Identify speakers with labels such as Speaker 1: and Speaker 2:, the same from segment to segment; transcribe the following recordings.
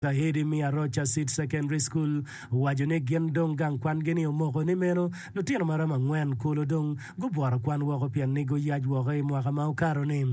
Speaker 1: Kahidi me Arocha Seed Secondary School owaco ni gin dong gang kwangi ni omoko ni meno lutino maromo angwen kulu dong gubwoto kwan woko pien ni guyac woko i mwaka ma okato ni.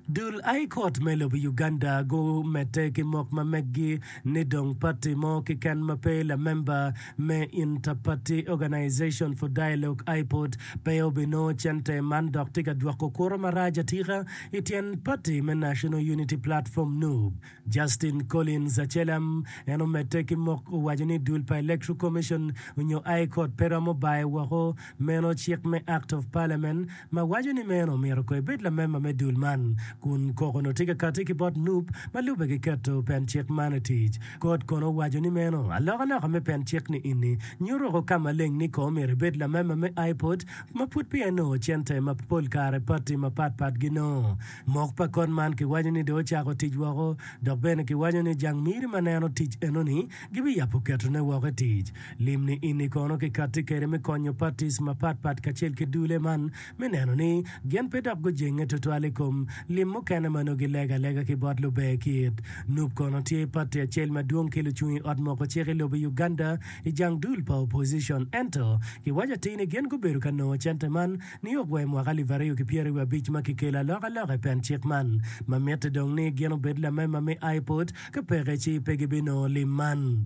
Speaker 1: Dul High Court me lobo Uganda gumedde ki mok ma meggi ni dong pati mo kiken ma pe lamemba me Inter-Party Organization for Dialogue, IPOD, pe obinongo cente man dok tye ka dwoko kuro marac atika i tyen pati me National Unity Platform, NUP. Justin Collins Acelam en omedde ki mok owaco ni dul pa Electoral Commission onyo High Court pe romo bayo woko meno cik me Act of Parliament ma waco ni meno myero ko ebed lamemba me dul man kun koko no tye ka kati ki bot NUP ma lube ki keto pen cik man i tic. Kot kono owaco ni meno alokaloka me pen cik ni ini nyuto woko ka maleng ni ko myero ebed lamemba me IPOD ma pud peya enongo cente ma pol kare pati mapat pat ginongo. Mok pa kot man kiwaco ni dong ocako tic woko, dok bene kiwaco ni jang miri ma neno tic enoni gibiyabo ketone woko i tic. Lim ni ini kono kikatti kwede me konyo parties mapat pat kacel ki dule man me neno ni gin pe dok gujenge tutwal i kom lim mukene ma nongo gilego alega ki bot luber kit. Nup kono tye party acel madwong ki lucung i ot moko cik i lobo Uganda i jang dul pa opposition ento kiwaco atir ni gin gubedo ka nongo cente man niok wa i mwaka 2025 ma kikelo alokaloka i pen cik man ma mitte dong ni gin obed lamema me IPOD ka peke ci pe gibinongo lim man.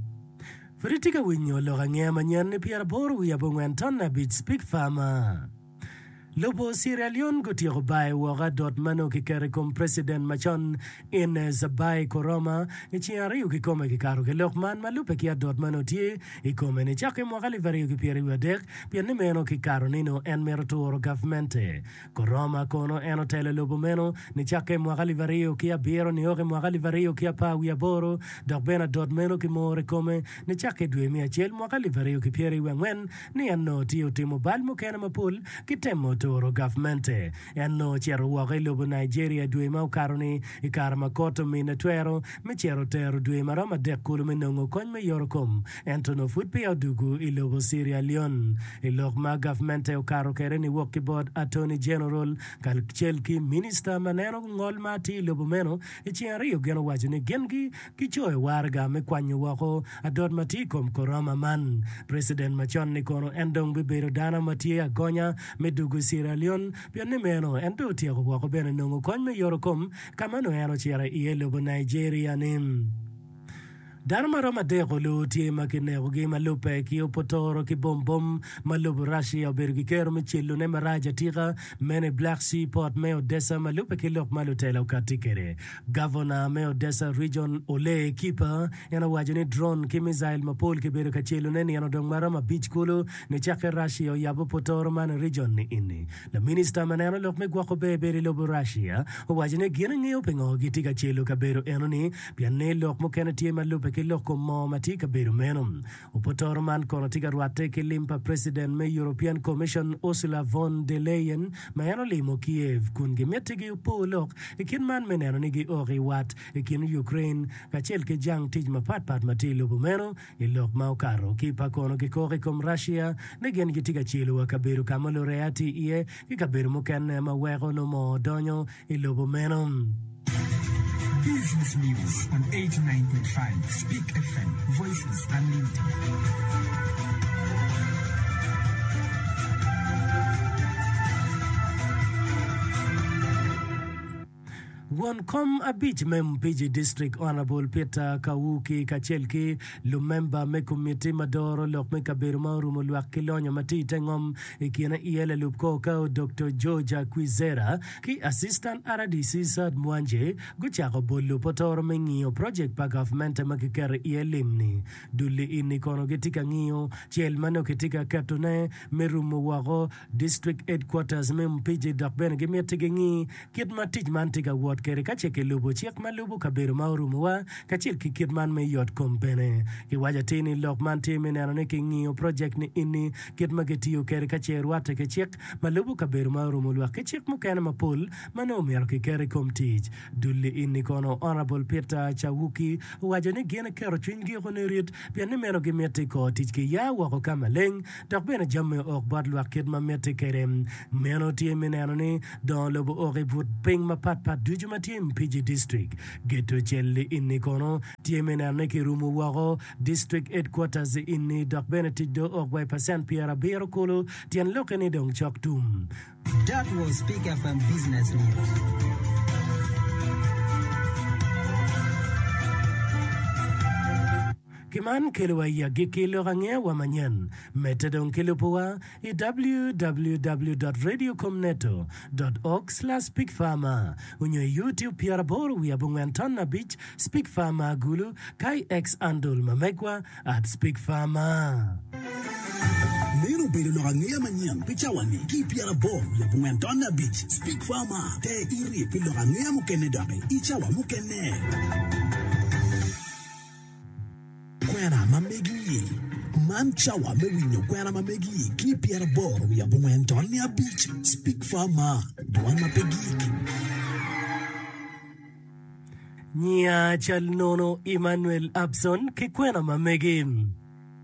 Speaker 1: Pud itye ka winyo lok angeya manyen ni pyeraboro wiye abongwen tonne abic Speak Farmer. Lobo Sierra Leone gutyeko bayo woko adot ma nongo kiketo i kom preciden macon Ines Abai Koroma i ceng aryo kikome kikato ki lok man ma lubbe ki adot ma nongo tye i kome nicakke i mwaka 2023 pien ni meno kikato ni nongo en mito turo gavmente. Koroma kono en otelo lobo meno nicakke i mwaka 2007 niok i mwaka 2018 dok bene adot meno kimoro i kome nicakke i dwe me acel mwaka 2024 ni en nongo tye otimo bal mukene mapol ki temo turo gavmente. En nongo ocito woko i lobo Nigeria dwe ma okato-ni i kare ma kot omine twero me cito tero dwe ma romo adek kulu me nongo kony me yotokom, ento nongo pud peya odugu i lobo Sierra Leone. I lok ma gavmente okato kwede niwok ki bot Attorney General kacel ki Minista ma neno ngol ma atir i lobo meno i ceng aryo gin owaco ni gin gi Kicoyo waraga me kwanyo woko adot ma tye i kom Koroma man. Preciden macon-ni kono en dong bibedo dano ma tye agonya me dugo i Sierra Leone pien ni meno en dong otyeko woko bene nongo kony me yoto kom ka ma nongo en ocito iye lobo Nigeria-ni. Dano ma romo adek olu tye ma kinekogi ma lubbe ki opotoro ki bom bom ma lobo Russia obedo ki kero me celone marac atika meno i Black Sea Port me Odessa ma lubbe ki lok ma lutela okatti kwede. Gavona me Odessa Region, Oleh Kiper, en owaco ni drone ki missile mapol kibedo ka celone nino dong maromo abic kulu nicakke Russia oyabo potoro man i region ni ini. Laminista ma neno lok me gwoko ber bedo i lobo Russia owaco ni gin engeyo pingo gitye ka celo kabedo enoni pien ni lok mukene tye ma lube ki lok kom moo ma tye i kabedo meno. Opotoro man kono tye ka rwatte ki lim pa President me European Commission Ursula von der Leyen ma en olimo Kiev kun gimitti gi opo lok i kit man me neno ni giok i wat i kin Ukraine kacel ki jang tic mapat pat ma tye i lobo meno. I lok ma okato ki pa kono gikok i kom Russia ni gin gitye ka celo wa kabedo ka ma lureya tye iye ki kabedo mukene ma weko nongo moo donyo i lobo meno.
Speaker 2: Business News on 89.5 Speak FM, Voices Unlimited.
Speaker 1: Won kom abic me Mpiji District Honourable Peter Kawuki kacel ki lumemba me komiti ma doro lok me kabedo ma orumo lwak ki lonyo ma tye ite ngom i kine iye lalub kor kao Doktor George Kwizera ki Assistant rdc Saad Mwanje gucako bolo potoro me ngiyo project pa gavmente ma kiketo iye lim-ni. Dul-li ini kono gitye ka ngiyo cel ma nongo kitye ka ketone me rumo woko District Headquarters me Mpiji dok bene gimiti gingi kit ma tic man tye ka wot kwede ka ce kilubo cik ma lubo kabedo ma orumowa kacel ki kit man me yot kom bene. Kiwaco atir ni lok man tye me neno ni kingiyo project ni ini kit ma kitiyo kwede ka ce rwatte ki cik ma lubo kabedo ma orumo lwak ki cik mukene mapol ma nongo myero kiket i kom tic. Dul-li ini kono Honourable Peter Chawuki owaco ni gin keto cwinygi oko nirit pien ni meno gimiti kor tic ki ya woko ka maleng dok bene jami ook bot lwak kit ma mitte kwede. Meno tye me neno ni dongo lobo ook i but piny mapat pat ducu. ducu ma tye i Mpiji District. Geto cel-li ini kono tye me neno ni kirumo woko District Headquarters ini dok bene tic dong ook wa i pacent 70 kulu tyen lokke ni dong cok tum.
Speaker 2: That was Peak FM Business News.
Speaker 1: Ki man kelowa i agikki lok angeya wa manyen. Medde dong ki lubowa i www dot radiocomneto dot org slash speakfarmer onyo i YouTube 80 wiye abongwen ton abic Speak Farmer Gulu ka i X handle ma megwa at Speak Farmer.
Speaker 3: Meno obedo lok angeya manyen pi cawa-ni ki i 80 wiye abongwen ton abic Speak Farmer Ter iti pi lok angeya mukene doki i cawa mukene. Kwena ma megi. Man cawa me winyo kwena ma megi ki i 80 wiye abongwen ton abic Speak Farmer Dwan ma pe gik.
Speaker 1: Nyiya cal nono Emmanuel Abson ki kwena ma megi.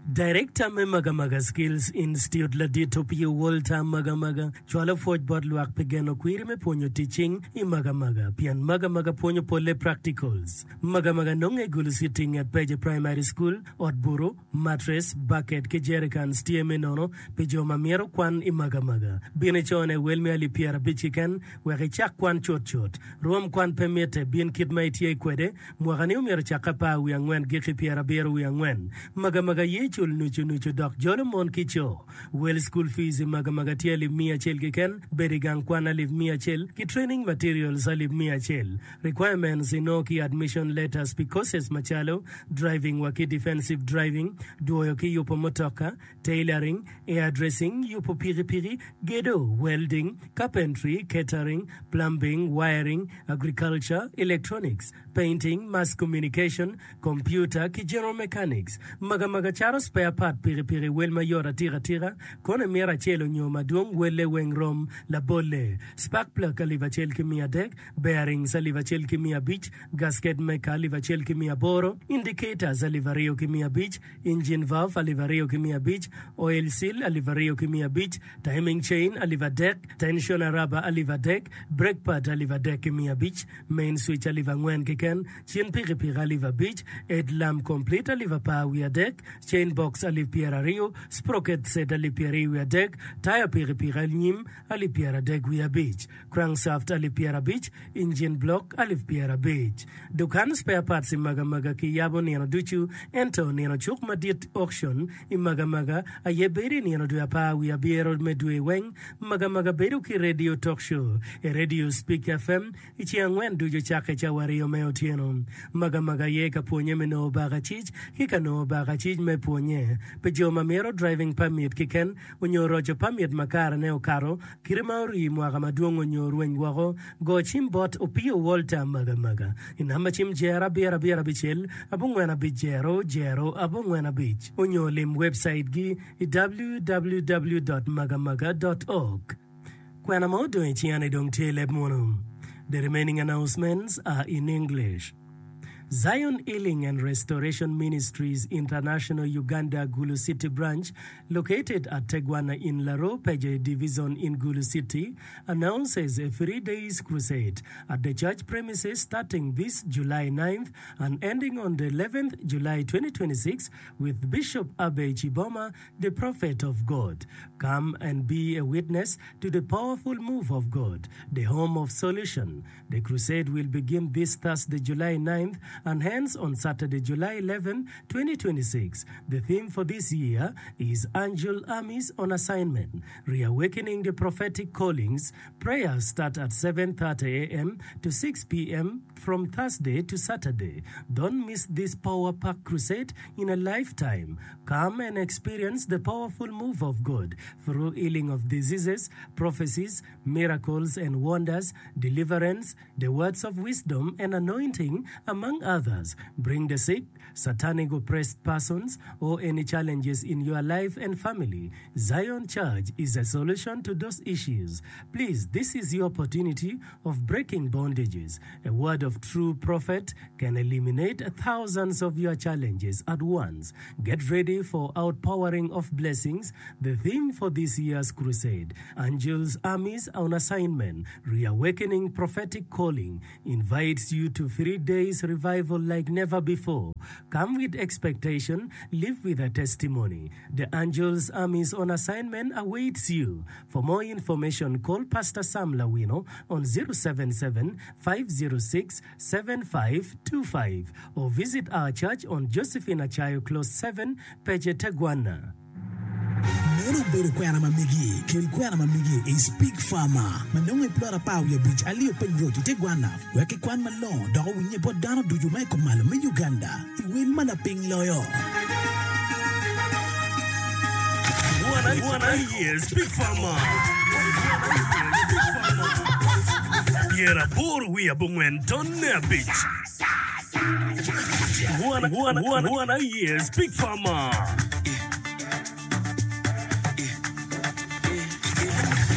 Speaker 1: Director me Magamaga Skills Institute Ladit Opio Walter Magamaga cwalo pwoc bot lwak pi geno kwiri me pwonyo tic cing i Magamaga pien Magamaga pwonyo polle practicals. Magamaga nonge i Gulu City nget Peje Primary School, ot butu, mattress, bucket ki jerrycans tye me nono pi jo ma mito kwan i Magamaga. Bin icone wel me alip 50 keken wek icak kwan cutcut. Rwom kwan pe mitte, bin kit ma itye kwede. Mwakani omyero ocakke apar wiye angwen giki pyerabiro wiye angwen. Magamaga ye cul nucu nucu dok jolo mon ki co. Wel school fees i Magamaga tye alip miya acel keken, bedo i gang kwan alip miya acel ki training materials alip miya acel. Requirements inongo ki admission letters pi courses macalo, driving wa ki defensive driving, dwoyo ki yubo mutoka, tailoring, hairdressing, yubo pikipiki, gedo, welding, carpentry, catering, plumbing, wiring, agriculture, electronics, painting, mass communication, computer, ki general mechanics. Magamaga caro spare part pikipiki wel mayot atika tika, kono imito acel onyo madwong welle weng rom. Labolle, spark plug alip acel ki miya adek, bearings alip acel ki miya abic, gasket maker alip acel ki miya aboro, indicators 2500, engine valve 2500, oil seal 2500, timing chain 3000, tensioner rubber 3000, brake pad 3500, main switch 4000 keken, cin pikipiki 5000, head lamp complete 10300, chain box 20,000, sprocket set 23,000, taya pikipiki anyim 350,000. Crankshaft 50,000, engine block 50,000. Dukan spare parts i Magamaga ki yabo nino ducu, ento nino cuk madit, auction, i Magamaga aye bedo i nino dwe apar wiye abiro me dwe weng. Magamaga bedo ki radio talk show i radio Speak FM i ceng angwen ducu cakke cawa aryo me otyeno. Magamaga aye ka pwonye me nongo bakacic ki ka nongo bakacic me pwonye pi jo ma mito driving permit kiken onyo roco permit ma kare ne okato Kite ma orii mwaka madwong onyo orweny woko, go cim bot Opio Walter Magamaga i namba cim jero abiro abiro abicel abongwen abic jero jero abongwen abic onyo lim webcait gi i www dot magamaga dot org. Kwena ma odong i cinga ni dong tye i leb munu. The remaining announcements are in English. Zion Healing and Restoration Ministries International Uganda Gulu City Branch located at Tegwana in Laro Peje Division in Gulu City announces a 3 days crusade at the church premises starting this July 9th and ending on the 11th July 2026 with Bishop Abbey Chiboma the prophet of God. Come and be a witness to the powerful move of God, the home of solution. The crusade will begin this Thursday, July 9th and ends on Saturday, July 11, 2026. The theme for this year is Angel Armies on Assignment, Reawakening the Prophetic Callings. Prayers start at 7:30 a.m. to 6 p.m. from Thursday to Saturday. Don't miss this power pack crusade in a lifetime. Come and experience the powerful move of God through healing of diseases, prophecies, miracles and wonders, deliverance, the words of wisdom and anointing, among others. others. Bring the sick, satanic oppressed persons, or any challenges in your life and family. Zion Church is a solution to those issues. Please, this is your opportunity of breaking bondages. A word of true prophet can eliminate thousands of your challenges at once. Get ready for outpouring of blessings, the theme for this year's crusade, Angels Armies on Assignment, Reawakening Prophetic Calling, invites you to 3 days revival like never before. Come with expectation, live with a testimony. The Angels Armies on Assignment awaits you. For more information, call Pastor Sam Lawino on 077 506 7525 or visit our church on Josephine Achayo Close 7, Pece Tegwanna.
Speaker 3: Meno obedo kwena ma megi. Kel kwena ma megi i Speak Farmer ma nongo i plot apar wiye abic Aliyo Piny Road i te Gwana wek kikwan malongo dok owinye bot dano ducu ma i kumalo me Uganda i wel ma lapiny loyo.
Speaker 4: Wan aye Speak Farmer. Pyeraboro wiye abongwen tonne abic. Wan aye Speak Farmer.